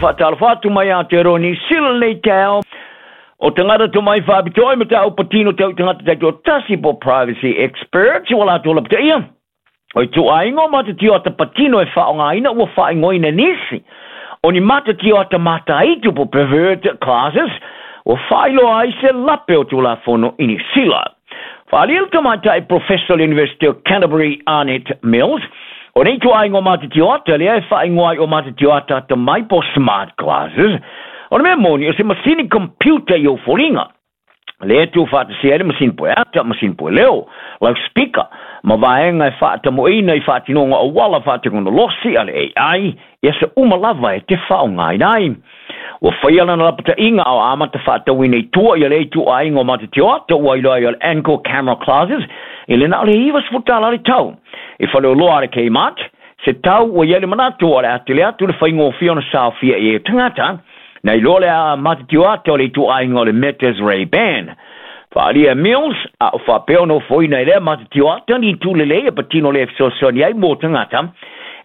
Faatalofa atu mai Aotearoa Niu Sila i lenei taeao. O tagata tomai faapitoa i mataupu patino tau i tagata taitoatasi po o privacy experts ua latou lapataia. O ituaiga o matatio ata patino e faaaogaina ua faaigoaina e nisi o ni matatio ata mataitu po o pervert classes ua faailoa ai se lape o Tulafono i Niu Sila. Faaalia le tamaitai Professor o le University o Canterbury Arnett Mills, o nei ituaiga o matatio ata lea e faaigoa ai o matatio ata atamai po o smart glasses, o le mea moni o se masini computer i ou foliga. Lea e tuufaatasia ai le masini pueata, masini pueleo, loudspeaker, ma vaega e faatamoeina i faatinoga auala faatekonolosi a le AI i aso uma lava e te faaaogaina ai. Ua faia lana lapataiga a o amata faatauina i tua ia lea ituaiga o matatioata ua iloa ai o le Anchor Camera Classes i le na o le $90 le tau. I faleoloa a le Kmart, se tau ua i ai le manatu o le a tele atu le faigofie ona saofia i ai o tagata, Na iloa le matatio ata o le ituaiga o le Meta's Ray-Ban. Faaalia e Mills, a o faapea ona ofoina e lea matatio ata ni itu lelei e patino lea e fesoasoani ai mo tagata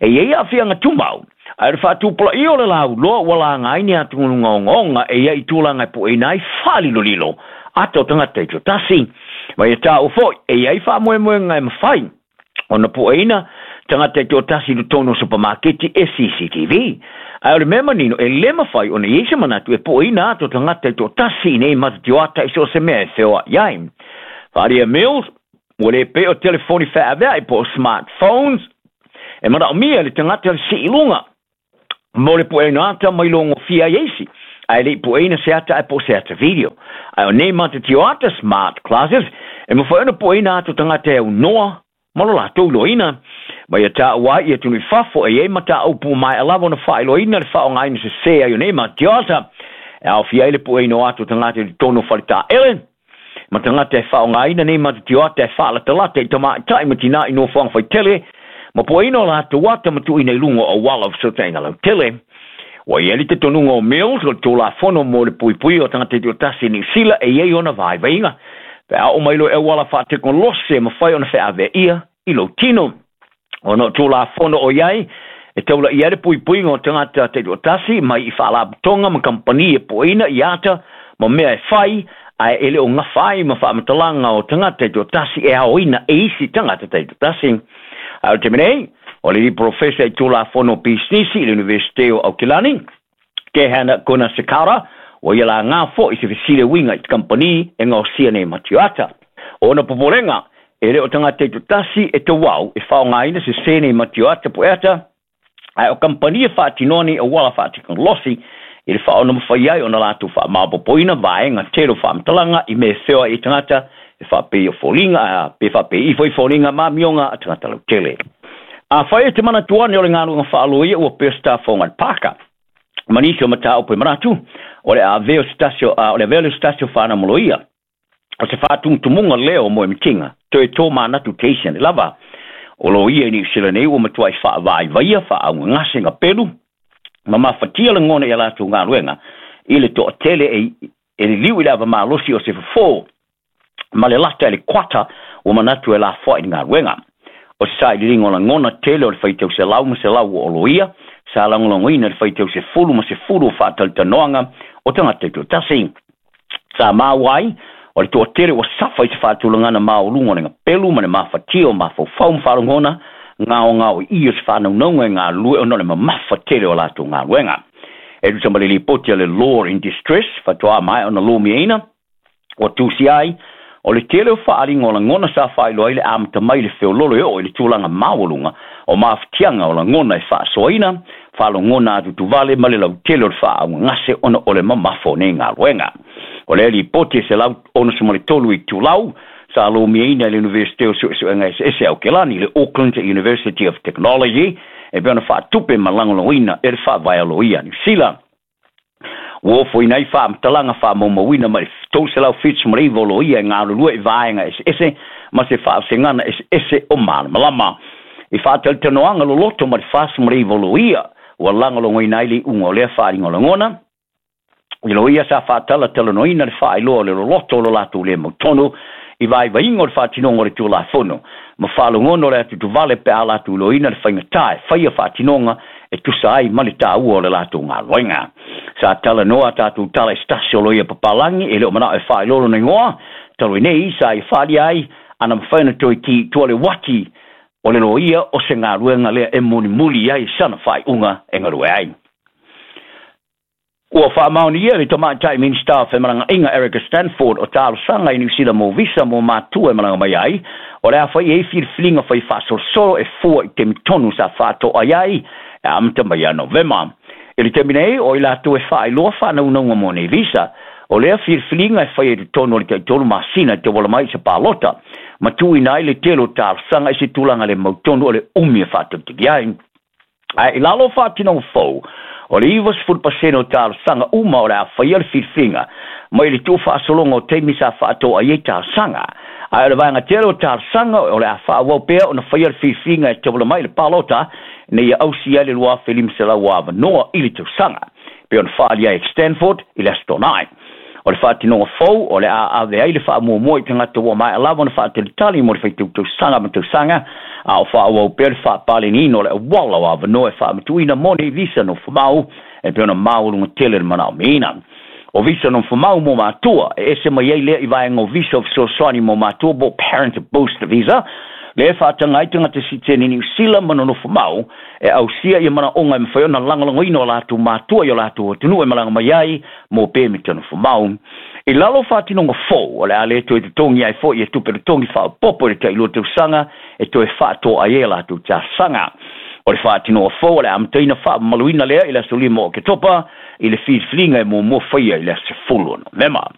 e i ai aafiaga tumau, ae o le faatupulaia o le lauloa ua laga ai ni atugaluga ogaoga e i ai i tulaga e pueina ai faalilolilo ata o tagata taitoatasi. Ma ia taua foi, e i ai faamoemoega e mafai ona pueina tagata taitoatasi i totonu o supamaketi e CCTV. Ae o le mea manino, e le mafai ona i ai se manatu e pueina atu o tagata taitoatasi i nei matatio ata i so o se mea e feoai ai. Faaalia Mills, ua le pei o telefoni feaveai po o smartphones e manaomia e le tagata le sii i luga mo le pueina ata mai logofia ai e isi, ae le i pueina se ata ae po o se ata video. Ae o nei matatio ata, smart classes, e mafai ona pueina atu o tagata e aunoa ma lo latou iloaina. Ma ia taua ai i atunuu i fafo e i ai mataupu maea lava ona faailoaina le faaaogaina sese ai o nei matatio ata, e aofia ai le pueina o ata o tagata i totonu o faletaele, ma tagata e faaaogaina nei matatio ata e faalatalata i tamaitai ma tinā i nofoaga faitele, ma pueina o latou ata ma tuuina i luga o auala o fesootaiga lautele. Ua i ai le talitonuga o Mills o le Tulafono mo le Puipuia o Tagata Taitoatasi i Niu Sila e i ai ona vaivaiga pe a oo mai loa i auala faatekonolosi e mafai ona feaveaia i lou tino. Ona o Tulafono o i ai e taulaia ai le puipuiga o tagata taitoatasi mai i faalapotoga ma kamupani e pueina i ata ma mea e fai ae e le o gafa ai ma faamatalaga o tagata taitoatasi e aoina e isi tagata taitoatasi. Ae o le taimi nei, o le alii polofesa i Tulafono o Pisinisi i le Iunivesite o Aukilani, Kehana Gunasekara, ua ia laga foi i se fesili e uiga i te kamupani e gaosia nei matioata. O ona popolega, e le o tagata taitoatasi e tauau e faaaogaina sese nei matioata pueata, ae o kamupani e faatinoa nei auala faatekonolosi i le faaonamafai ai ona latou faamaopoopoina vaega tele o faamatalaga i mea e feoai ai tagata e faapei o foliga, pe faapei ifo i foliga ma amioga a tagata lautele. Afai e te manatu ane o le galuega faaloia ua pei o se tafoga i le pāka, ma nisi o mataupu e manatu, o le avea o se tasi o, o le avea lea o se tasi o fanau ma loia, o se faatumutumuga lea o moemitiga, toe tō manatu te isi ane lava. O loia i Niu Sila nei ua matuai faavaivaia, faaaugagase gapelu, ma mafatia lagona i a latou galuega i le toatele e, e liliu i le avamalosi o se fofo ma le lata i le kuata ua manatu e lafoai i le galuega. O se sailiiliga o lagona tele o le faitau selau ma selau o loia, sa lagolagoina i le faitau 10 ma 10 o faatalitanoaga o tagata taitoatasi. Sa maua ai, o le toatele ua safa i se faatulagana maualuga o le gapelu ma le mafatia o mafaufau ma faalogona gaogaoii o se faanaunauga e galulue ona o le mamafa tele o latou galuega. E tusa ma le lipoti a le Law in Distress, faatoa maea ona lomiaina, ua tusia ai, o le tele o faaaliga o lagona sa faailoa ai le amata mai i le feololo e oo i le tulaga maualuga o mafatiaga o lagona e faasoaina, faalogona atutuvale ma le lautele o le faaaugagase ona o le mamafa o nei galuega. O lea lipoti e 163 itulau sa lomiaina e le Iunivesite o Suesuega Eseese Aokelani, le Auckland University of Technology, e pei ona faatupe ma lagolagoina e le Faavae a Loia a Niu Sila. Ua ofoina ai faamatalaga faamaumauina mai le 379 o loia e galulue i vaega eseese ma se faavasegana eseese o malamalama. I faatalitanoaga loloto ma le 49 o loia ua lagolagoina ai le iuga o lea faaaliga o lagona, i loia sa faatalatalanoaina le faailoa o le loloto o lo latou le mautonu I vaivaiga o le faatinoga o le Tulafono ma faalogono le atutuvale pe a latou iloaina le faigatā e faia faatinoga e tusa ai ma le taua o le latou galuega. Sa talanoa a tatou tala i se tasi o loia papalagi e le o manao e faailoa lona igoa talu ai nei sa ia faaalia ai ana mafai ona toe ki i tua le uati o le loia o se galuega lea e mulimuli ai sana faaiuga e galue ai. Ua faamaonia le tamaitai Minisita o Femalagaaiga Erica Stanford o talosaga i Niu Sila mo visa mo matua e malaga mai ai, o le a fai ai filifiliga fai faasolosolo e fua i taimi tonu sa faatoa ai ai e amata mai ia Novema. I le taimi nei, o i latou e faailoa faanaunauga mo nei visa, o lea filifiliga e faia i totonu o le taitolu masina e tauala mai i se palota, ma tuuina ai le tele o talosaga i se tulaga le mautonu o le umi e faatalitali ai. Ae i lalo o faatinoga fou, o le 90% o talosaga uma o le a faia le filifiliga mai le tuufaasologa o taimi sa faatoa ai ai talosaga. Ae o le vaega tele o talosaga o le a faaauau pea ona faia le filifiliga e tauala mai i le palota ina ia ausia ai le 2,500 avanoa i le tausaga, pei ona faaalia ai e Stanford i le Aso Toonai. O le faatinoga fou o le a ave ai le faamuamua i tagata ua maea lava ona faatalitali mo le faitau tausaga ma tausaga, a o faaauau pea le faapaleniina o le auala o avanoa e faamatuuina mo nei visa nofomau e pei ona maualuga tele le manaomiaina. O visa nofomau mo matua e ese mai ai lea i vaega o visa o fesoasoani mo matua po o Parent Boost Visa, lea e faataga ai tagata sitiseni Niu Sila ma nonofomau e ausia ia manaoga e mafai ona lagolagoina o latou matua i o latou atunuu e malaga mai ai mo pemita nofomau. I lalo o faatinoga fou, o le a le toe totogi ai foi ia tupe totogi faaopoopo i le tailua tausaga e toe faatoa ai e latou talosaga. O le faatinoga fou o le a amataina faamamaluina lea i le aso 5 o Oketopa i le filifiliga e muamua faia i le aso 10 o Novema.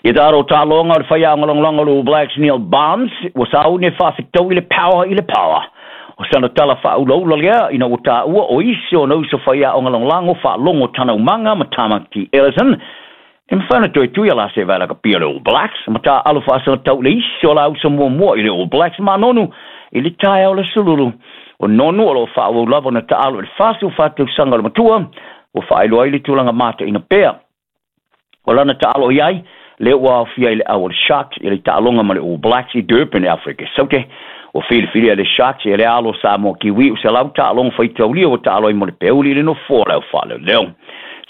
Ia taro taaloga o le faiaoga lagolago o le All Blacks Neil Barnes ua sauni e faafetaui le power i le power. O sana tala faaulaula lea ina ua taua o isi ona uso faiaoga lagolago faalogo Tanaumaga ma Tamaki Ellison e mafai ona toe tui a la se vae lakapi o le All Blacks ma taaalo faasagatau i le isi o la uso muamua i le All Blacks ma Nonu i le taeao o le Aso Lulu. O Nonu o lo o faaauau lava ona taaalo i le 44 tausaga o le matua ua faailoa ai le tulaga mataina pea o lana taalo i ai, lea ua aofia i le au o le Sharks i le taaloga ma le All Blacks i Durban i Afrika Saute. Ua filifilia e le Sharks e le alo Samoa Kiwi o selau taaloga faitaulia ua taalo ai mo le peuli i le nofoa o le au faaleoleo.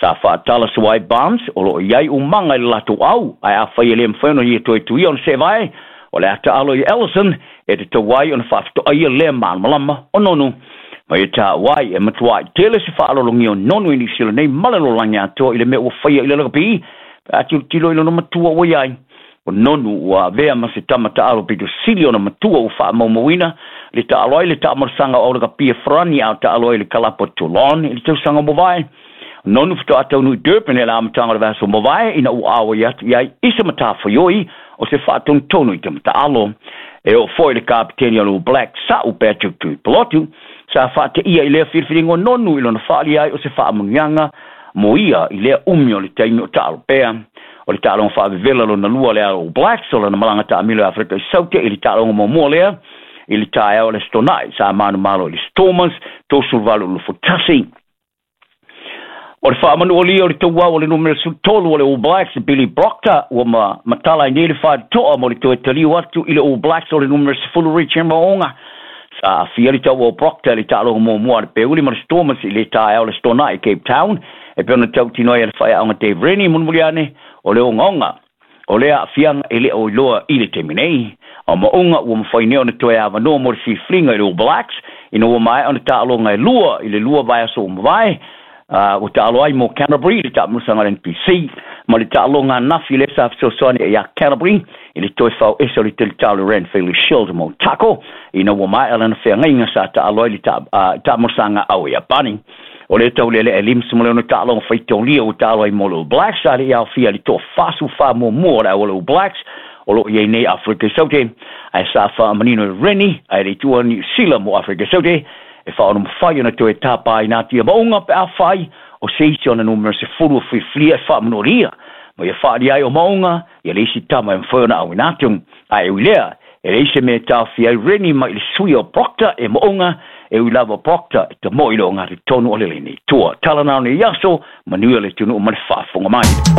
Sa faatala sua ai Barnes o lo o i ai umaga i le latou au, ae afai e le mafai ona ia toe tuia ona seevae, o le a taalo i Ellison e tatau ai ona faafetoaia lea malamalama o Nonu. Ma ia taua ai e matuai tele se faalologia o Nonu i Niu Sila nei ma le lalolagi atoa i le mea ua faia i le lakapi, pe a tilotilo i lona matua ua i ai. O Nonu ua avea ma se tama taalo pito sili ona matua ua faamaumauina le taalo ai le taamalosaga o aulakapi e Farani a o taalo ai le kalapu a Toulon i le tausaga ua mavae. Nonu faatoa taunuu i Durban i le amataga o le vaiaso ua mavae ina ua auai atu i ai i se matafaioi o se faatonutonu i tama taalo. E oo foi le kapeteni o le All Blacks Sa'u Patrick Tuipulotu sa faateia i lea filifiliga o Nonu i lona faaalia ai o se faamanuiaga mo ia i lea umi o le taimi o taalo pea. O le taaloga faavevela lona lua lea a All Blacks o lana malaga taamilo i Afrika i Saute i le taaloga muamua lea i le taeao o le Aso Toonai sa manumalo i le Stormers 38-21. O le faamanualia o le tauau o le numera 13 o le All Blacks, Billy Proctor, ua ma matala ai nei le faatoa mo le toe taliu atu i le All Blacks o le numera 10 Richie Mo'unga. Sa aafia le tauau o Proctor i le taaloga muamua a le Peuli ma le Stormers i le taeao o le Aso Toonai i Cape Town, e pei ona tautino ai e le faiaoga Dave Rennie mulimuli ane o le ogaoga o lea aafiaga e le o iloa i le taimi nei. O Mo'unga ua mafai nei ona toe avanoa mo le filifiliga i le All Blacks ina ua maea ona taaloga e lua i le lua vaiaso ua mavae, ua taalo ai mo Canterbury i le taamalosaga a le NPC ma le taaloga ananafi lea sa fesoasoani ai ia Canterbury i le toe fao ese o le teletā o le Ranfurly Shield mo Otago ina ua maea lana feagaiga sa taalo ai i le taamalosaga ao Iapani. O lea taulealea e 56 taaloga faitaulia ua taalo ai mo le All Blacks a le i aofia i le toa-44 muamua o le au o le All Blacks o lo o i ai nei Afrika i Saute, ae sa faamanino e Rennie ae le i tuua Niu Sila mo Afrika i Saute e faaonomafai ona toe tapaina atu ia Maunga pe afai o se isi ona numera 10 o filifilia e faamanualia ma ia faaalia ai o Maunga ia le isi tama e mafai ona auina atu. Ae ui lea, e leai se mea e taofia ai Rennie mai le suia o Proctor e Maunga, e ui lava o Proctor e tamoe i le ogatotonu o le lenei tua. Tala na o nei aso, manuia le atunuu ma le faafofoga mai.